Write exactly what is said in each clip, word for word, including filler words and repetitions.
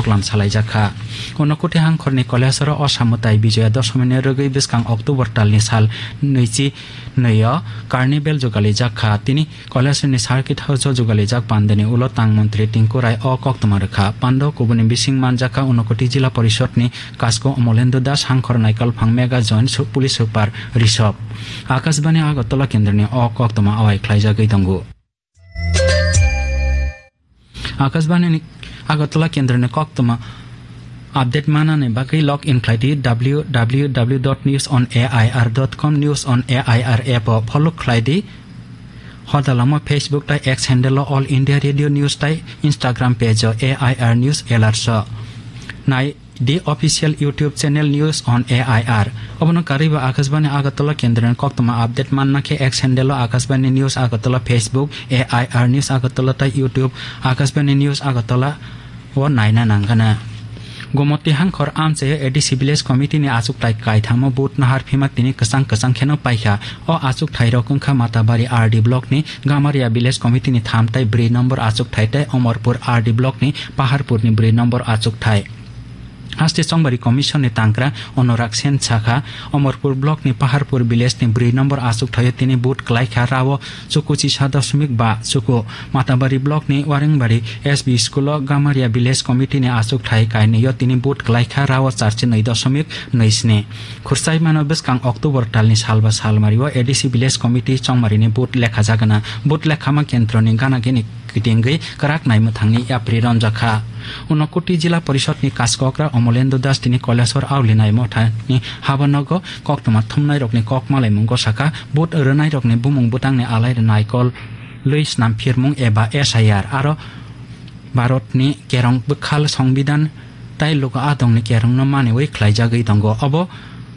klam salaijak kha. Unokoti hangkhorni Kailasoro o samwtai Bijoya Dosomini rwgwi bwskang October talni sal nwichi nwi o Carnival jugalijak kha. Tini Kailasroni Circuit House o jugalijak pandani ulo tang montri Tinku Rai o koktwma rwkha. Pando kubuni bising manjakha Unokoti Jila Porishodni Kasko Omolendra Das, hangkhor naikolphang Mega Joint su-, Police Super Rishabh. Akashbani Agartala kendroni o koktwma awai khlaijagwi tongo. Akashbani ni Agartala kendroni koktwma update manani bagwi log in khlai di W W W dot news on A I R dot com, News on A I R app o follow khlai di. Hodalamo Facebook tai X handle o All India Radio News tai Instagram page o A I R News Alerts o nai di official YouTube channel News on A I R. Obono karwibo Akashbani Agartala kendroni koktwma update manna khe X handle o Akashbani News Agartala, Facebook A I R News Agartala tai YouTube Akashbani News Agartala o naina nangana. Gomoti hangkhor amchaio A D C Village Committee ni achukthai kaithamo vote nahar phima tini kwchang kwchang kheno paikha. O achukthai rok wngkha Matabari R D block ni Gamaria Village Committee ni tham tai brwi number achukthai tai Omorpur R D block ni Paharpur ni brwi number achukthai. Haste Chongbari Commission ni tangkra Anurag Sen sakha, Omorpur block ni Paharpur village ni brwi number achukthai o tini vote kwlaikha rao chuku chisa dosmik ba chuku. Matabari block ni Warengbari S B school o Gamaria Village Committee ni achukthai kainwi o tini vote kwlaikha rao charchi nwi dosmik nwi sni. Khursaimano bwskang October talni salba salmari o A D C Village Committee Chongmari ni vote lekha jagana. Vote lekhama kendroni gana gini kitingwi kwrak naimwthangni yapri ronjakha. Unokoti Jila Porishodni Kaskokra Omolendra Das tini Kailasor Auli Naimotha ni habanogo koktwma thumnairokni kok malaimungo sakha, vote rwnairokni bumung bwtangni alai naikol lwi snam phirmung eba S I R aro Bharatni kerong bwkhal Songbidan tai luku adongni kerongno maniwi khlaijagwi tongo. Obo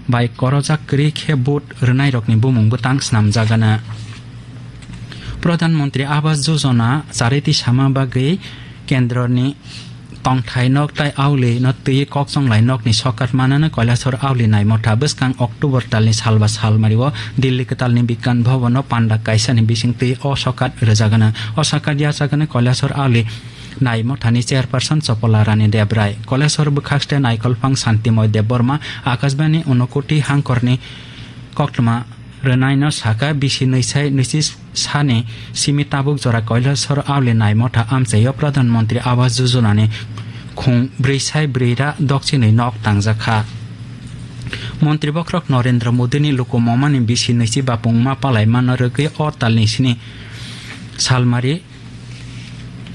bai korojak kwrwi khe vote rwnairokni bumung bwtang snamjagana. Pradhan Mantri Awas Yojana chariti sama bagwi kendroni tongthai nok tai auli no twi kokchonglai nokni sokat manano Kailasor Auli Naimotha bwskang October talni salba salmari o Delhi kwtalni Bigyan Bhavan o panda kaisani bising twi o sokat rwjagana. O sokat yachagani Kailasor Auli Naimothani chairperson Chopola Rani Debrai. Kailasor bwkhakste naikolphang Santimoy Debbarma Akashbani Unokoti hangkorni koktwma rwnaino sakha, bisi nwisai nwichi sani simi tabuk jora Kailasor Auli Naimotha amchaio Pradhan Mantri Awas Yojana ni khung brwi sai brwi ra dokchinwi nok tangjakha. Montri bokhorok Narendra Modi ni luku momani bisi nwichi bapung ma palai mano rwgwi o talni sini salmari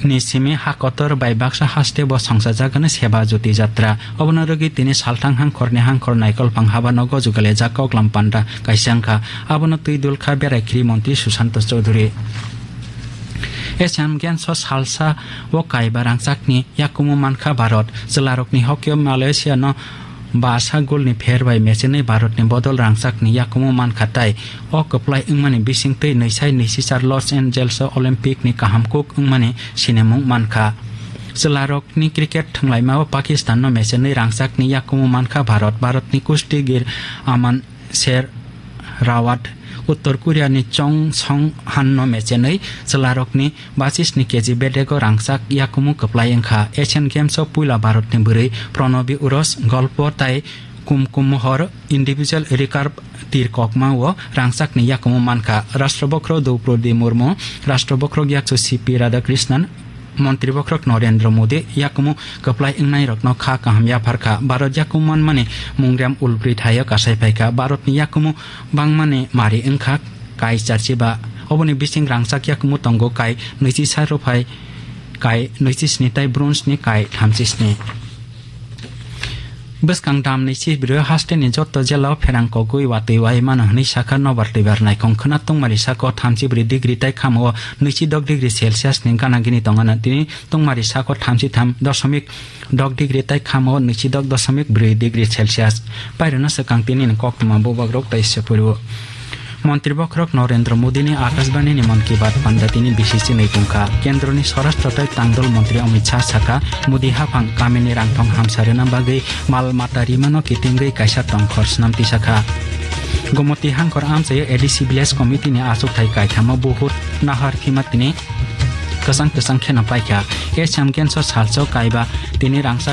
ni simi ha kotor bai baksa haste bo songchajagani Seba Jyoti Jatra. Obono rwgwi tini salthang hangkhorni hangkhor naikolphang habanogo jugalijak koklam panda kaisa wngkha. Abono twi dulkha berai khri montri Sushanta Chowdhury. Asian Games o salsa o kaiba rangchakni yakumu mankha Bharat. Chwlarokni hockey o Malaysia no basa golni pher bai mechenwi Bharatni bodol rangchakni yakumu mankha tai o kwplai wngmani bisingtwi nwisai nwichichar Los Angeles o Olympic ni kaham kuk wngmani sinimung mankha. Chwlarokni cricket thwnglaima o Pakistan no mechenwi rangchakni yakumu mankha Bharat. Bharatni kustigir Aman Sher Rawat Uttor Korea ni Chong Song Han no mechenwi chwlarokni bachisni K G bedego rangchak yakumu kwplai wngkha. Asian Games o puila Bharatni bwrwi Pronobi Uros golpo tai Kumkum Mohor individual recurve tir kokma o rangchakni yakumu mankha. Rashtra bokhorok Droupadi Murmu, Rashtra bokhorok yakchu C P Radhakrishnan, Montri bokhorok Narendra Modi yakumu kwplai wngnairokno kha kaham yapharkha. Bharat yakumu manmani mungrem ulbrwi thaio kasai phaikha. Bharatni yakumu bangmani mari wngkha kai charchiba. Oboni bising rangchak yakumu tongo kai nwichi sa ruphai kai nwichi sni tai bronze ni kai thamchi sni. Bwskang dam nwichi brwi hasteni joto jela o pherang kogwi watwi wai mano hwnwi sakha nobar twibar naikhong khwna tungmari sako thamchi brwi degree tai khamo o nwichi dok degree Celsius ni gana gini tongana tini tungmari sako thamchi tham dosomik dok degree tai khamo nwichi dok dosomik brwi degree Celsius. Pairwno swkang tini ni koktwma bubagrok tai se phuru. Montri bokhorok Narendra Modi ni Akashbani ni Mann Ki Baat panda tini bisi chinwi tongkha. Kendroni Swarashtra tai Tangdol Montri Amit Shah sakha, Modi haphang kamini rangthong hamsa rwna bagwi mal mata rimano kitingwi kaisa tongkhor swnam tisakha. Gomoti hangkhor amchaio A D C Village Committee ni achukthai kaithamo buhut nahar phima tini kwchang kwchang kheno paikha. Asian Games o salsa o kaiba tini rangchak